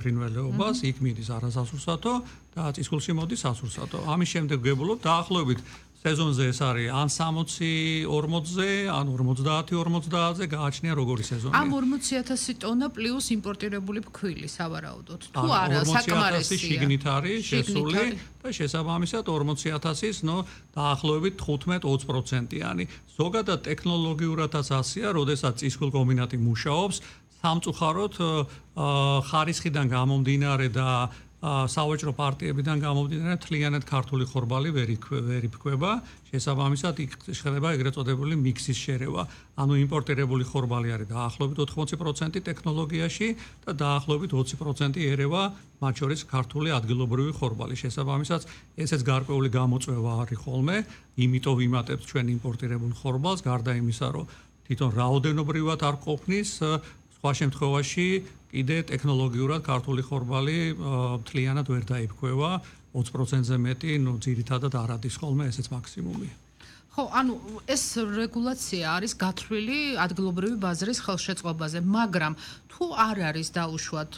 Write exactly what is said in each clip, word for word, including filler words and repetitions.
ფრინველეობას, იქ მიდის არასასურსათო და წისქვილში მოდის სასურსათო. ამის შემდეგ გებულობ დაახლოებით სეზონზე ეს არის ან სამოცი ორმოცზე, ან ორმოცდაათი ორმოცდაათზე გააჩნია როგორი სეზონია. ამ ორმოცი ათასი ტონა პლუს იმპორტირებული ფქვილი სავარაუდოდ. თუ არა, საკმარისია. შიგნით არის შესული და შესაბამისად ორმოცი ათასის, ნო დაახლოებით თხუთმეტ ოცი პროცენტიანი. ზოგადად ტექნოლოგიურადაც ასია, როდესაც წისქვილ კომბინატი მუშაობს, სამწუხაროდ ხარისხიდან გამომდინარე და სავაჭრო პარტიებიდან გამომდინარე მთლიანად ქართული ხორბალი ვერ იფქვება, შესაბამისად იქ ხდება ეგრეთ წოდებული მიქსის შერევა. ანუ იმპორტირებული ხორბალი არის დაახლოებით ოთხმოცი პროცენტი ტექნოლოგიაში და დაახლოებით ოცი პროცენტი ერევა მათ შორის ქართული ადგილობრივი ხორბალი. შესაბამისად ესეც გარკვეული გამოწვევა არის ხოლმე, იმიტომ ვიმატებთ ჩვენ იმპორტირებულ ხორბალს, გარდა იმისა, რომ თვითონ რაოდენობრივად არ ყოფნის სხვა შემთხვევაში კიდე ტექნოლოგიურად ქართული ხორბალი მთლიანად ვერ დაიფქვევა, ოცი პროცენტზე მეტი, ნუ ძირითადად არ ადის ხოლმე, ესეც მაქსიმუმია. ხო, ანუ ეს რეგულაცია არის გათვლილი ადგილობრივი ბაზრის ხელშეწყობაზე, მაგრამ თუ არ არის დაუშვათ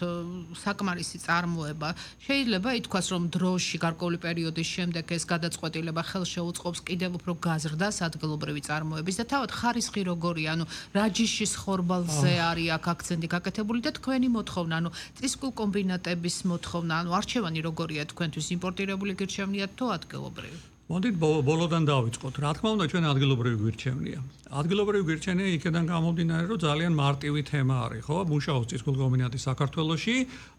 საკმარისი წარმოება, შეიძლება ითქვას, რომ დროში გარკვეული პერიოდის შემდეგ ეს გადაწყვეტილება ხელშეუწყობს კიდევ უფრო გაზრდას ადგილობრივი წარმოების და თავად ხარისხი როგორია, ანუ რა ჯიშის ხორბალზე არის აქ აქცენტი გაკეთებული და თქვენი მოთხოვნა, ანუ წისქვილ კომბინატების მოთხოვნა, ანუ არჩევანი როგორია თქვენთვის იმპორტირებული გირჩევნიათ თუ ადგილობრივი? მოდით ბოლოდან დავიწყოთ. რა თქმა უნდა, ჩვენ ადგილობრივი გვირჩევნია. ადგილობრივი გვირჩევნია იქიდან გამომდინარე, რომ ძალიან მარტივი თემა არის, ხო? მუშაობს წისქვილ კომბინატი საქართველოში,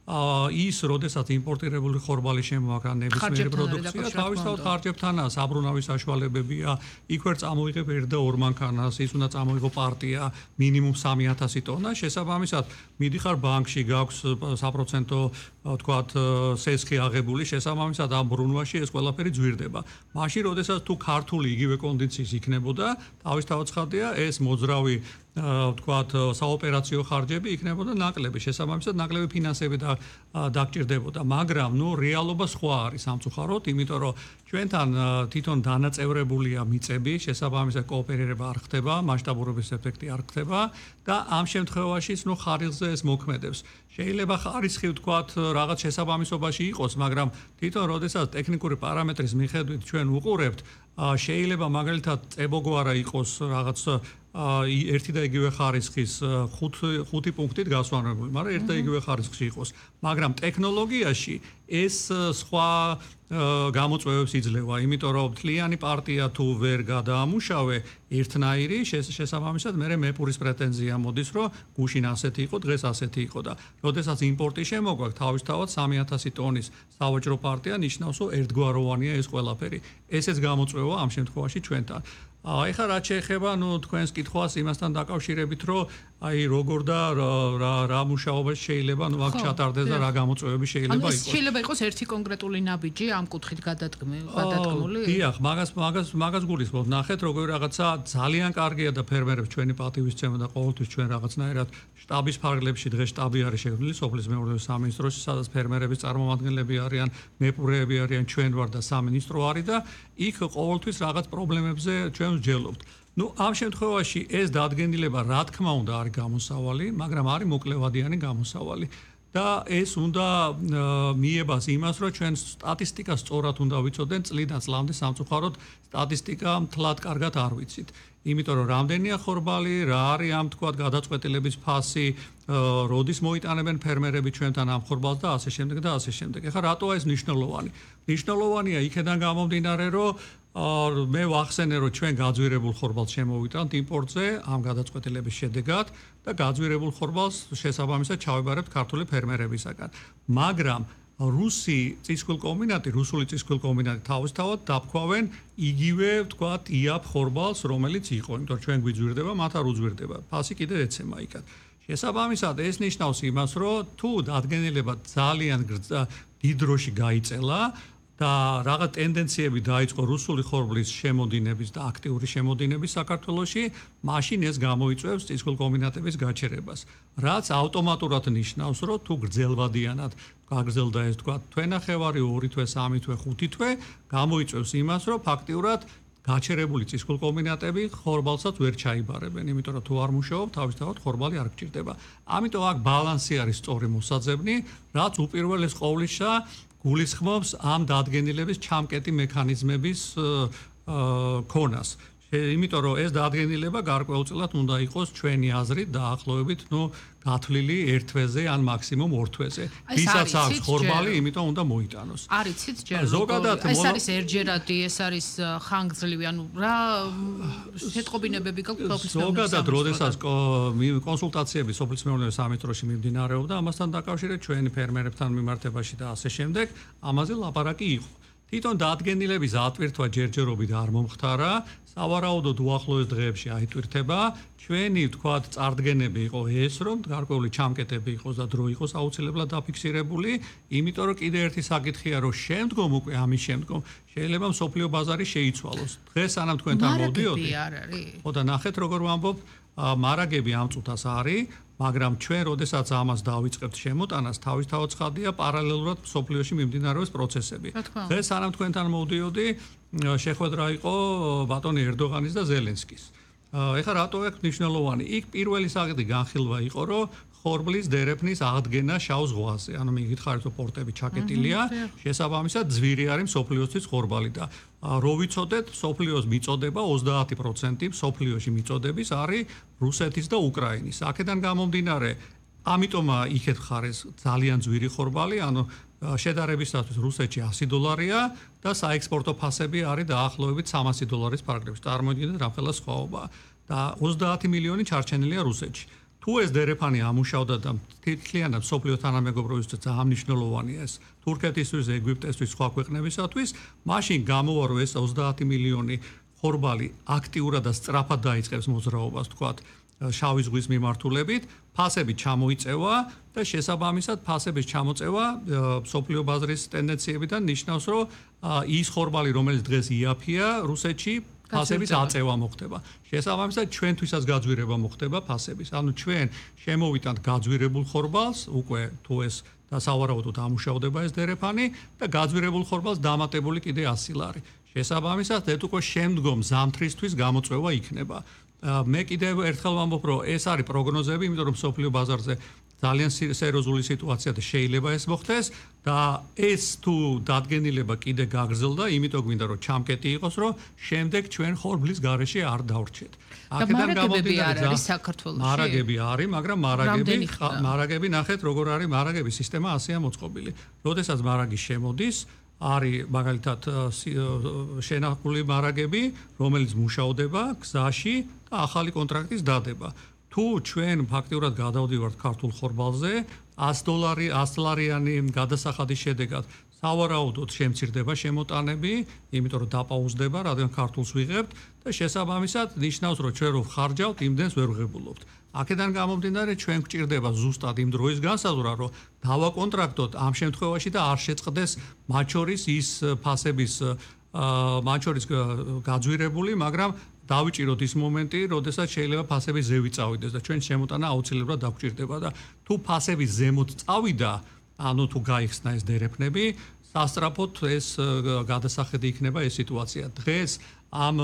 ის, როდესაც იმპორტირებული ხორბალი შემოაქვს ან ნებისმიერი პროდუქცია, თავისთავად ხარჯებთანაა, საბრუნავი საშუალებებია, იქ ვერ წამოიღებ ერთ და ორ მანქანას, ის უნდა წამოიღო პარტია, მინიმუმ სამი ათასი ტონა, შესაბამისად, მიდიხარ ბანკში, გაქვს საპროცენტო, თქვათ, სესხი აღებული, შესაბამისად ამ ბრუნვაში ეს ყველაფერი ძვირდება. მაშინ, როდესაც თუ ქართული იგივე კონდიციის იქნებოდა, თავისთავად ცხადია, ეს მოძრავი თქვათ, საოპერაციო ხარჯები იქნებოდა ნაკლები, შესაბამისად ნაკლები ფინანსები და დაგჭირდებოდა, მაგრამ ნუ რეალობა სხვა არის სამწუხაროდ, იმიტომ რომ ჩვენთან თვითონ დანაწევრებულია მიწები, შესაბამისად კოოპერირება არ ხდება, მასშტაბურობის ეფექტი არ ხდება და ამ შემთხვევაშიც ნუ ხარისხზე ეს მოქმედებს. შეიძლება ხარისხი თქვათ რაღაც შესაბამისობაში იყოს, მაგრამ თვითონ როდესაც ტექნიკური პარამეტრის მიხედვით ჩვენ უყურებთ, შეიძლება მაგალითად წებოგვარა იყოს რაღაც ერთი და იგივე ხარისხის ხუთი პუნქტით გასვანებული, მაგრამ ერთ და იგივე ხარისხში იყოს. მაგრამ ტექნოლოგიაში ეს სხვა გამოწვევებს იძლევა, იმიტომ რომ მთლიანი პარტია თუ ვერ გადაამუშავე ერთნაირი, შესაბამისად მე მეპურის პრეტენზია მოდის, რომ გუშინ ასეთი იყო, დღეს ასეთი იყო და როდესაც იმპორტი შემოგვაქვს, თავისთავად სამი ათასი ტონის სავაჭრო პარტია ნიშნავს, რომ ერთგვაროვანია ეს ყველაფერი. ესეც გამოწვევა ამ შემთხვევაში ჩვენთან. ეხლა რაც შეეხება, ნუ თქვენს კითხვას იმასთან დაკავშირებით, რომ აი როგორ და რა მუშაობა შეიძლება, ნუ აქ ჩატარდეს და რა გამოწვევები შეიძლება იყოს. ანუ შეიძლება იყოს ერთი კონკრეტული ნაბიჯი ამ კუთხით გადადგმული? დიახ, მაგას მაგას მაგას გულისხმობ. ნახეთ, როგორი რაღაცა ძალიან კარგია და ფერმერებს ჩვენი პატივისცემა და ყოველთვის ჩვენ რაღაცნაირად შტაბის ფარგლებში დღეს შტაბი არის შექმნილი სოფლის მეურნეობის სამინისტროში, სადაც ფერმერების წარმომადგენლები არიან, მეპურეები არიან, ჩვენ ვარ და სამინისტრო არის და იქ ყოველთვის რაღაც პრობლემებზე ჩვენ ვსჯელობთ. ნუ ამ შემთხვევაში ეს დადგენილება რა თქმა უნდა არის გამოსავალი, მაგრამ არის მოკლევადიანი გამოსავალი. და ეს უნდა მიებას იმას, რომ ჩვენ სტატისტიკას სწორად უნდა ვიცოდეთ წლიდან წლამდე სამწუხაროდ სტატისტიკა მთლად კარგად არ ვიცით. იმიტომ რომ რამდენია ხორბალი, რა არის ამ თქვათ გადაწყვეტილების ფასი, როდის მოიტანებენ ფერმერები ჩვენთან ამ ხორბალს და ასე შემდეგ და ასე შემდეგ. ეხლა რატოა ეს მნიშვნელოვანი? მნიშვნელოვანია იქედან გამომდინარე, რომ მე ვახსენე, რომ ჩვენ გაძვირებულ ხორბალს შემოვიტანთ იმპორტზე ამ გადაწყვეტილების შედეგად და გაძვირებულ ხორბალს შესაბამისად ჩავებარებთ ქართული ფერმერებისაგან. მაგრამ რუსი წისქვილ კომბინატი, რუსული წისქვილ კომბინატი თავისთავად დაფქვავენ იგივე, ვთქვათ, იაფ ხორბალს, რომელიც იყო, იმიტომ რომ ჩვენ გვიძვირდება, მათ არ უძვირდება. ფასი კიდე ეცემა იქად. შესაბამისად, ეს ნიშნავს იმას, რომ თუ დადგენილება ძალიან დიდ დროში გაიწელა და რაღაც ტენდენციები დაიწყო რუსული ხორბლის შემოდინების და აქტიური შემოდინების საქართველოში, მაშინ ეს გამოიწვევს წისქვილ კომბინატების გაჩერებას. რაც ავტომატურად ნიშნავს, რომ თუ გრძელვადიანად გაგრძელდა ეს თქვა თვენახევარი, ორი თვე, სამი თვე, ხუთი თვე, გამოიწვევს იმას, რომ ფაქტიურად გაჩერებული წისქვილკომბინატები ხორბალსაც ვერ ჩაიბარებენ, იმიტომ რომ თუ არ მუშაობ, თავისთავად ხორბალი არ გჭირდება. ამიტომ აქ ბალანსი არის სწორი მოსაძებნი, რაც უპირველეს ყოვლისა გულისხმობს ამ დადგენილების ჩამკეტი მექანიზმების ქონას. იმიტომ რომ ეს დადგენილება გარკვეულწილად უნდა იყოს ჩვენი აზრით დაახლოებით, ნუ გათვლილი ერთ თვეზე ან მაქსიმუმ ორ თვეზე. ვისაც აქვს ხორბალი, იმიტომ უნდა მოიტანოს. არიცით ჯერ ზოგადად ეს არის ერჯერადი, ეს არის ხანგრძლივი, ანუ რა შეტყობინებები გაქვს? ზოგადად, როდესაც კონსულტაციები სოფლის მეურნეობის სამინისტროში მიმდინარეობდა, ამასთან დაკავშირებით ჩვენი ფერმერებთან მიმართებაში და ასე შემდეგ, ამაზე ლაპარაკი იყო. თვითონ დადგენილების ატვირთვა ჯერჯერობით არ მომხდარა, სავარაუდოდ უახლოეს დღეებში აიტვირთება. ჩვენი ვთქვათ წარდგენები იყო ეს, რომ გარკვეული ჩამკეტები იყოს და დრო იყოს აუცილებლად დაფიქსირებული, იმიტომ რომ კიდე ერთი საკითხია, რომ შემდგომ უკვე ამის შემდგომ შეიძლება მსოფლიო ბაზარი შეიცვალოს. დღეს სანამ თქვენთან მოვდიოდი. ხო და ნახეთ როგორ ვამბობ, მარაგები ამ წუთას არის, მაგრამ ჩვენ როდესაც ამას დავიწყებთ შემოტანას, თავისთავად ცხადია პარალელურად მსოფლიოში მიმდინარეობს პროცესები. დღეს სანამ თქვენთან მოვდიოდი, შეხვედრა იყო ბატონი ერდოღანის და ზელენსკის. ეხლა რატო აქვს მნიშვნელოვანი? იქ პირველი საკითხი განხილვა იყო, რომ ხორბლის დერეფნის აღდგენა შავ ზღვაზე. ანუ მიგითხარით, რომ პორტები ჩაკეტილია, შესაბამისად ძვირი არის მსოფლიოსთვის ხორბალი და რო ვიცოდეთ, მსოფლიოს მიწოდება ოცდაათი პროცენტი მსოფლიოში მიწოდების არის რუსეთის და უკრაინის. აქედან გამომდინარე, ამიტომ იქეთ ხარეს ძალიან ძვირი ხორბალი, ანუ შედარებისათვის რუსეთში ასი დოლარია და საექსპორტო ფასები არის დაახლოებით სამასი დოლარის ფარგლებში. წარმოიდგინეთ რამხელა სხვაობა და ოცდაათი მილიონი ჩარჩენილია რუსეთში. თუ ეს დერეფანი ამუშავდა და თითქლიანად მსოფლიო თანამეგობრობისთვის ძალიან მნიშვნელოვანია ეს თურქეთისთვის, ეგვიპტესთვის, სხვა ქვეყნებისათვის, მაშინ გამოვა რომ ეს ოცდაათი მილიონი ხორბალი აქტიურად და სწრაფად დაიწყებს მოძრაობას, თქვათ, შავი ზღვის მიმართულებით, ფასები ჩამოიწევა და შესაბამისად ფასების ჩამოწევა მსოფლიო ბაზრის ტენდენციებიდან ნიშნავს, რომ ის ხორბალი, რომელიც დღეს იაფია რუსეთში, ფასების აწევა მოხდება. შესაბამისად ჩვენთვისაც გაძვირება მოხდება ფასების. ანუ ჩვენ შემოვიტანთ გაძვირებულ ხორბალს, უკვე თუ ეს და სავარაუდოდ ამუშავდება ეს დერეფანი და გაძვირებულ ხორბალს დამატებული კიდე ასი ლარი. შესაბამისად, ეს უკვე შემდგომ ზამთრისთვის გამოწვევა იქნება. მე კიდევ ერთხელ ვამბობ, რომ ეს არის პროგნოზები, იმიტომ რომ მსოფლიო ბაზარზე ძალიან სერიოზული სიტუაცია და შეიძლება ეს მოხდეს და ეს თუ დადგენილება კიდე გაგრძელდა, იმიტომ გვინდა რომ ჩამკეტი იყოს, რომ შემდეგ ჩვენ ხორბლის გარეშე არ დავრჩეთ. აქედან გამომდინარე არის საქართველოში. მარაგები არის, მაგრამ მარაგები მარაგები ნახეთ როგორ არის მარაგების სისტემა ასეა მოწყობილი. როდესაც მარაგი შემოდის, არის მაგალითად შენახული მარაგები, რომელიც მუშადება გზაში და ახალი კონტრაქტის დადება. თუ ჩვენ ფაქტიურად გადავდივართ ქართულ ხორბალზე, ას დოლარი, ას ლარიანი გადასახადის შედეგად სავარაუდოდ შემცირდება შემოტანები, იმიტომ რომ დაპაუზდება, რადგან ქართულს ვიღებთ და შესაბამისად ნიშნავს, რომ ჩვენ რო ხარჯავთ, იმდენს ვერ ვღებულობთ. აქედან გამომდინარე, ჩვენ გვჭირდება ზუსტად იმ დროის განსაზღვრა, რომ დავაკონტრაქტოთ ამ შემთხვევაში და არ შეწყდეს მათ შორის ის ფასების მათ შორის გაძვირებული, მაგრამ დავიჭიროთ ის მომენტი, როდესაც შეიძლება ფასების ზევი წავიდეს და ჩვენ შემოტანა აუცილებლად დაგვჭირდება და თუ ფასების ზემოთ წავიდა, ანუ თუ გაიხსნა ეს დერეფნები, სასწრაფოდ ეს გადასახედი იქნება ეს სიტუაცია. დღეს ამ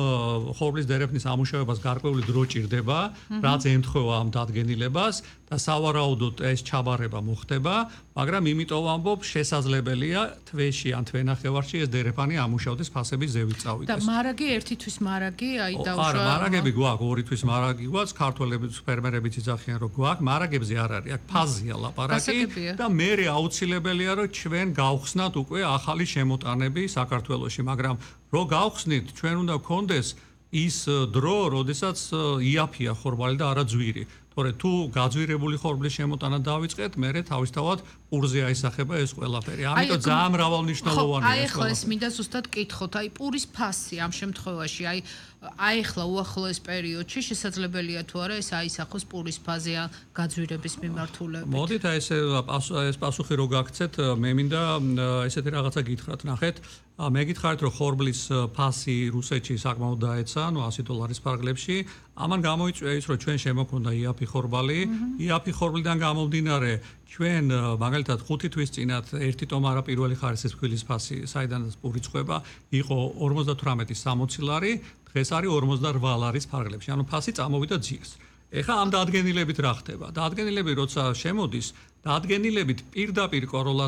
ხორბლის დერეფნის ამუშავებას გარკვეული დრო ჭირდება, რაც ემთხვევა ამ დადგენილებას და სავარაუდოდ ეს ჩაბარება მოხდება, მაგრამ იმიტომ ვამბობ, შესაძლებელია თვეში ან თვენახევარში ეს დერეფანი ამუშავდეს ფასების ზევით წავიდეს. და მარაგი ერთი თვის მარაგი, აი დაუშვა. არა, მარაგები გვაქვს, ორი თვის მარაგი გვაქვს, ქართველები, ფერმერებიც იძახიან, რომ გვაქვს, მარაგებზე არ არის, აქ ფაზია ლაპარაკი და მე აუცილებელია, რომ ჩვენ გავხსნათ უკვე ახალი შემოტანები საქართველოში, მაგრამ რო გავხსნით, ჩვენ უნდა გქონდეს ის დრო, როდესაც იაფია ხორბალი და არა ძვირი. თორე თუ გაძვირებული ხორბლის შემოტანა დავიწყეთ, მერე თავისთავად პურზე აისახება ეს ყველაფერი. ამიტომ ძალიან მრავალნიშნულოვანია ეს. აი ახლა ეს მინდა ზუსტად კითხოთ, აი პურის ფასი ამ შემთხვევაში, აი აი ახლა უახლოეს პერიოდში შესაძლებელია თუ არა ეს აისახოს პურის ფაზე გაძვირების მიმართულებით. მოდით აი ეს ეს პასუხი რო გაგცეთ, მე მინდა ესეთი რაღაცა გითხრათ, ნახეთ, მე გითხარით რომ ხორბლის ფასი რუსეთში საკმაოდ დაეცა, ნუ ასი დოლარის ფარგლებში. ამან გამოიწვია ის რომ ჩვენ შემოქმნა იაფი ხორბალი, იაფი ხორბლიდან გამომდინარე ჩვენ მაგალითად ხუთი თვის წინათ ერთი ტომარა პირველი ხარისხის ფქვილის ფასი, საიდანაც პური წვება, იყო ორმოცდათვრამეტი სამოცი ლარი, დღეს არის ორმოცდარვა ლარის ფარგლებში. ანუ ფასი წამოვიდა ძიეს. ეხლა ამ დადგენილებით რა ხდება? დადგენილები როცა შემოდის, დადგენილებით პირდაპირ კოროლაცია